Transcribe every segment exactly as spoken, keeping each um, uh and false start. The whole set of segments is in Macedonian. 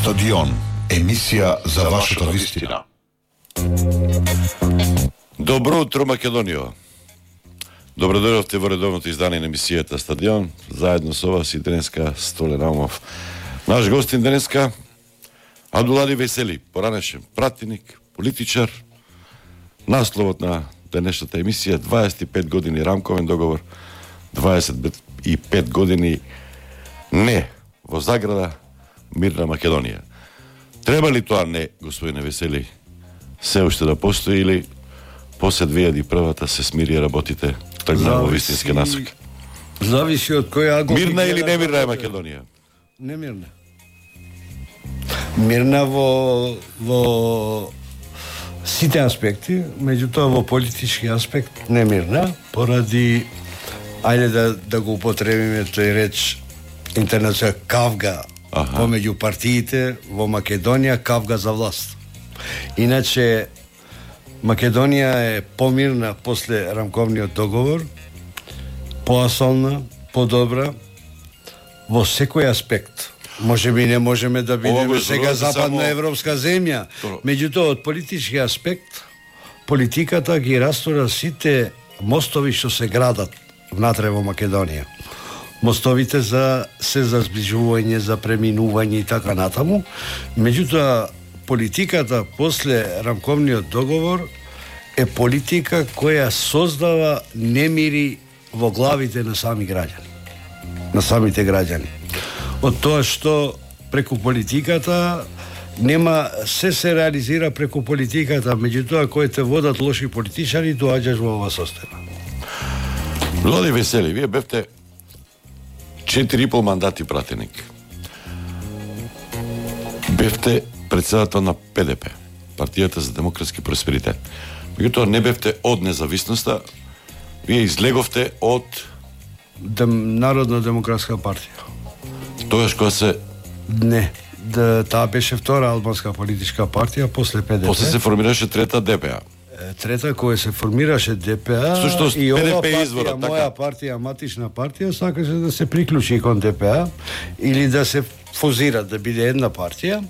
Стадион, емисија за вашата вистина. Добро утро, Македонија. Добро дојдовте во редовното издание на емисијата Стадион. Заедно со вас и денеска Столе Наумов. Наш гостин денеска Абдулади Весели, поранешен пратеник, политичар. Насловот на денешната емисија дваесет и пет години рамковен договор, дваесет и пет години не во заграда мирна Македонија. Треба ли тоа не, господине Весели, се уште да постои или после две илјади и прва се смири работите тргна во вистински насок? Зависи од кој ангол. Мирна или немирна е Македонија? Немирна. Мирна во во сите аспекти, меѓутоа во политички аспект немирна, поради, ајде да, да го употребиме тој реч интернационал кавга помеѓу партиите во Македонија, кавга за власт. Иначе Македонија е помирна после рамковниот договор, поасолна, подобра во секој аспект. Може би не можеме да бидеме сега западноевропска земја, меѓутоа од политички аспект политиката ги растура сите мостови што се градат внатре во Македонија. Мостовите за се за зближување, за преминување и така натаму. Меѓутоа политиката после рамковниот договор е политика која создава немири во главите на сами граѓани. На самите граѓани. Од тоа што преку политиката нема, се се реализира преку политиката, меѓутоа кои те водат лоши политичари, доаѓаш во ова состојба. Влади Весели, вие бевте четири и пол мандати пратеник. Бевте председател на П Д П, Партијата за демократски просперитет. Меѓутоа не бевте од независноста, вие излеговте од Дем, Народна демократска партија. Тогаш кога се Не, да, таа беше втора албанска политичка партија после П Д П. После се формираше трета Д П А. Трета која се формираше Д П А. Сушто, и ова партија, извора, моја така? партија, матична партија, сакаше да се приклучи кон Д П А или да се фузира, да биде една партија.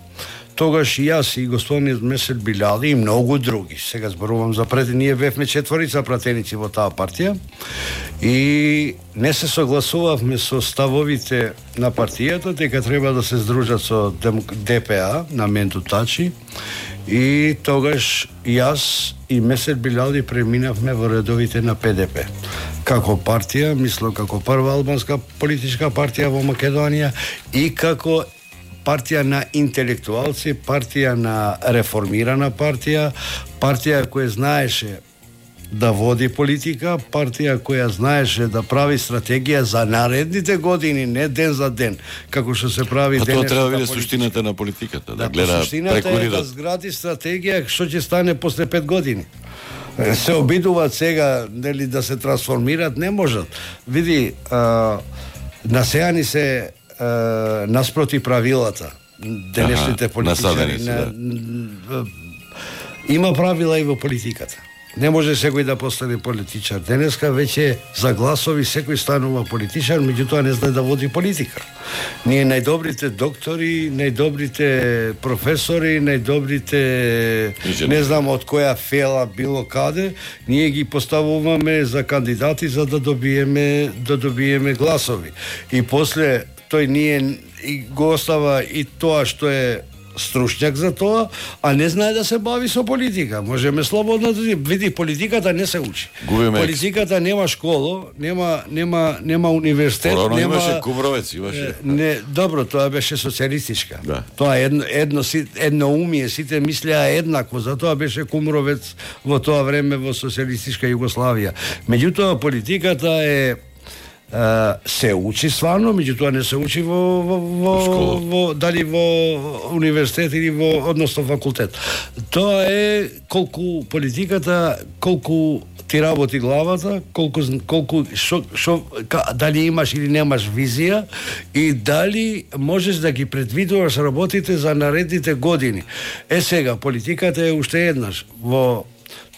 Тогаш и јас и господинот Месел Биляли и многу други. Сега зборувам за пред, ние бевме четворица пратеници во таа партија и не се согласувавме со ставовите на партијата дека треба да се здружат со Д П А на Менду Тачи и тогаш јас и Месел Биляли преминавме во редовите на П Д П. Како партија, мислам како прва албанска политичка партија во Македонија и како партија на интелектуалци, партија на реформирана партија, партија која знаеше да води политика, партија која знаеше да прави стратегија за наредните години, не ден за ден, како што се прави денешната политика. А тоа треба да биде суштината на политиката, да, да гледа преку суштината е да згради стратегија што ќе стане после пет години. Се обидуваат сега нели да се трансформираат, не можат. Види, а, насеани се наспроти правилата денешните политичари. Да. Има правила и во политиката. Не може секој да постане политичар. Денеска веќе за гласови секој станува политичар, меѓутоа не знае да води политика. Ние најдобрите доктори, најдобрите професори, најдобрите не знам од која фела било каде, ние ги поставуваме за кандидати за да добиеме да добиеме гласови. И после тој ние и го остава и тоа што е стручњак за тоа, а не знае да се бави со политика. Можеме слободно да види, политиката не се учи. Губиме. Политиката нема школа, нема нема нема универзитет, Порано нема имаше Кумровец, имаше. Не, добро, тоа беше социјалистичка. Да. Тоа едно едно едно умие, сите мислеа еднакво, затоа беше Кумровец во тоа време во социјалистичка Југославија. Меѓутоа политиката е Uh, се учи стварно, меѓутоа не се учи во, во, во, во дали во универзитет или во односно факултет. Тоа е колку политиката, колку ти работи главата, колку колку шо, шо дали имаш или немаш визија и дали можеш да ги предвидуваш работите за наредните години. Е сега политиката е уште еднаш во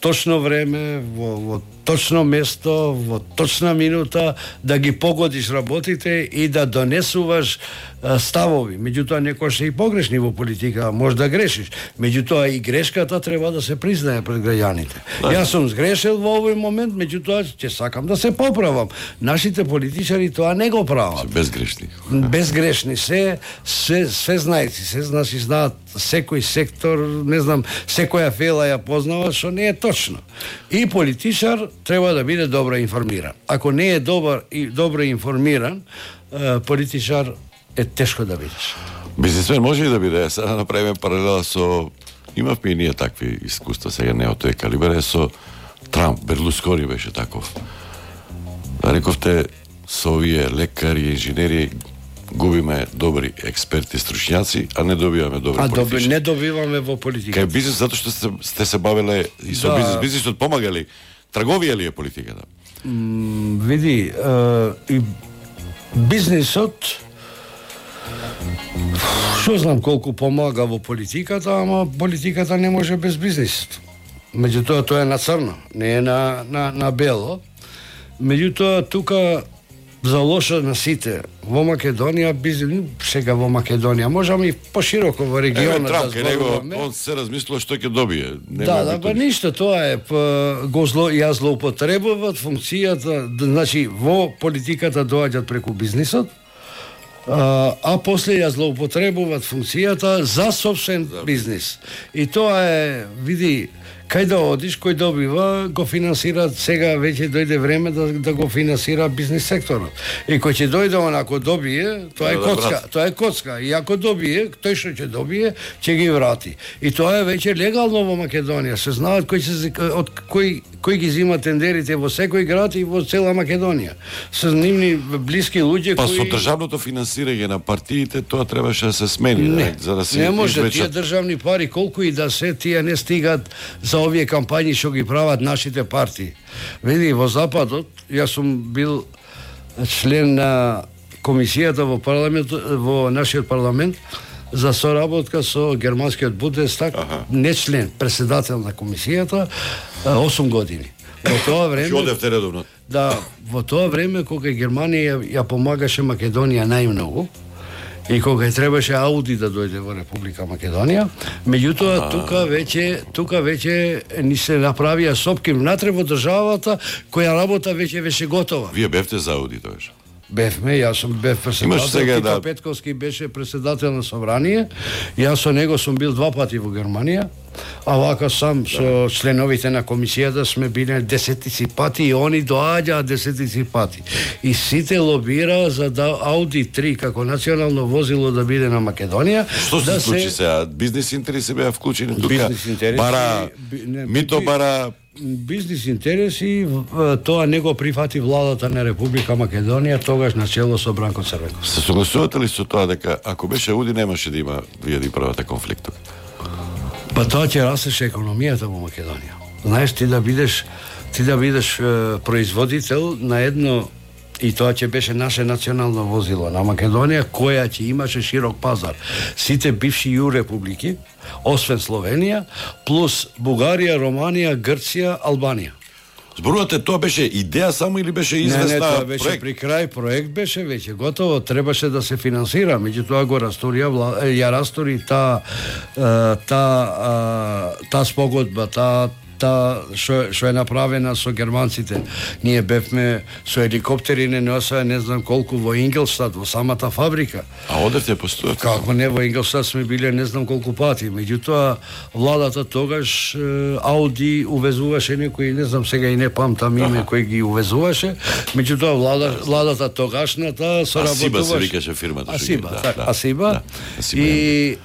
точно време, во, во точно место, во точна минута, да ги погодиш работите и да донесуваш а, ставови. Меѓутоа, некојаш се и погрешни во политика, може да грешиш. Меѓутоа, и грешката треба да се признае пред граѓаните. Да. Јас сум сгрешил во овој момент, меѓутоа, ќе сакам да се поправам. Нашите политичари тоа не го прават. Се безгрешни. Безгрешни се, се, се знајци, се значи знаат секој сектор, не знам, секоја фела ја познава, што не е точно. И политичар треба да биде добро информиран. Ако не е добар и добро информиран, политичар е тешко да бидеш. Бизнисмен може и да биде. Сега да направиме паралела со... Имавме и ние такви искуства, сега не од тој калибер, е со Трамп, Берлускони беше таков. Да рековте, со овие лекари, инженери, губиме добри експерти, стручњаци, а не добиваме добри а политичари. доби, не добиваме во политиката. Кај бизнис, затоа што сте, сте се бавеле и со Да. бизнис. Бизнисот помагали. Трговија ли е политиката? М, види, е, и бизнисот што знам колку помага во политиката, ама политиката не може без бизнисот. Меѓутоа, тоа е на црно, не е на, на, на бело. Меѓутоа, тука за лошо на сите. Во Македонија, бизнес, сега во Македонија, можеме и пошироко во Еве регионот Трамп, да кај него, зборуваме. он се размислува што ќе добие. Нема Да, да, битови. па ништо, тоа е, па, го зло, ја злоупотребуваат функцијата, д- значи, во политиката доаѓаат преку бизнисот, а, а после ја злоупотребуваат функцијата за собствен бизнис. И тоа е, види, кај да одиш, кој добива, го финансира, сега веќе дојде време да, да го финансира бизнис секторот. И кој ќе дојде онако добие, тоа е Да, да, коцка, брат. тоа е коцка. И ако добие, тој што ќе добие, ќе ги врати. И тоа е веќе легално во Македонија. Се знаат кој се од кој кој ги зима тендерите во секој град и во цела Македонија. Се нивни блиски луѓе Па кои со државното финансирање на партиите, тоа требаше да се смени, Не, да, за да се не може, тие извлечат. државни пари, колку и да се, тие не стигат за овие кампањи што ги прават нашите партии. Види, во Западот, јас сум бил член на комисијата во парламент, во нашиот парламент, за соработка со германскиот Бундестаг, не член, председател на комисијата, осум години. Во тоа време... Ќе одевте редовно. Да, во тоа време кога Германија ја, ја помагаше Македонија најмногу и кога требаше Ауди да дојде во Република Македонија, меѓутоа тука веќе тука веќе ни се направија сопки внатре во државата која работа веќе беше готова. Вие бевте за Ауди тоеш. Бевме, јас сум бев Имаш председател, сега Тито да- Петковски беше председател на собрание, јас со него сум бил два пати во Германија, а вака сам со членовите на комисијата сме биле десетици пати и они доаѓаат десетици пати. И сите лобираа за да Ауди три како национално возило да биде на Македонија. Што се да случи сега? Бизнес интереси беа вклучени тука. Бизнес интереси, Бара, би- не, мито би- бара. Бизнес интереси, в- тоа не го прифати владата на Република Македонија, тогаш на чело со Бранко Црвенков. Се согласувате ли со тоа дека ако беше Ауди немаше да има вие да правите конфликт тука? Па тоа ќе растеше економијата во Македонија. Знаеш, ти да бидеш ти да бидеш е, производител на едно, и тоа ќе беше наше национално возило на Македонија, која ќе имаше широк пазар. Сите бивши ју републики, освен Словенија, плюс Бугарија, Романија, Грција, Албанија. Зборувате, тоа беше идеја само или беше Не, известна не, тоа беше проект? при крај, проект беше веќе готово, требаше да се финансира, меѓутоа го растурија, вла- е, ја растури таа е, таа е, таа спогодба, таа та што што е направена со германците. Ние бевме со еликоптери не носаа не знам колку во Ингелстад, во самата фабрика. А одевте постојате? Како не, во Ингелстад сме биле не знам колку пати. Меѓутоа, владата тогаш е, Ауди увезуваше некои, не знам сега и не памтам име кој ги увезуваше, меѓутоа влада, владата тогашната соработуваше. Асиба се викаше фирмата. што Асиба, ги- да, така, да, Асиба. да, Асиба е. И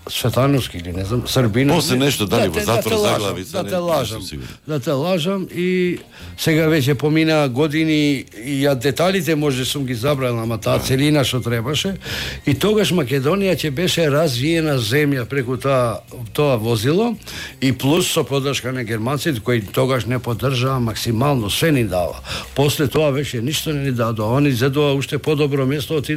Светановски или не знам, Србина. После не- нешто дали да во те- затвор да те лажам, заглавица, да не- те не лажам. сум сигурен. Да те лажам и сега веќе помина години и ја деталите може сум ги забрал, ама таа целина што требаше и тогаш Македонија ќе беше развиена земја преку таа тоа возило и плюс со поддршка на германците кои тогаш не поддржаа максимално, све ни дава. После тоа веќе ништо не ни дадоа, они зедоа уште подобро место, отидоа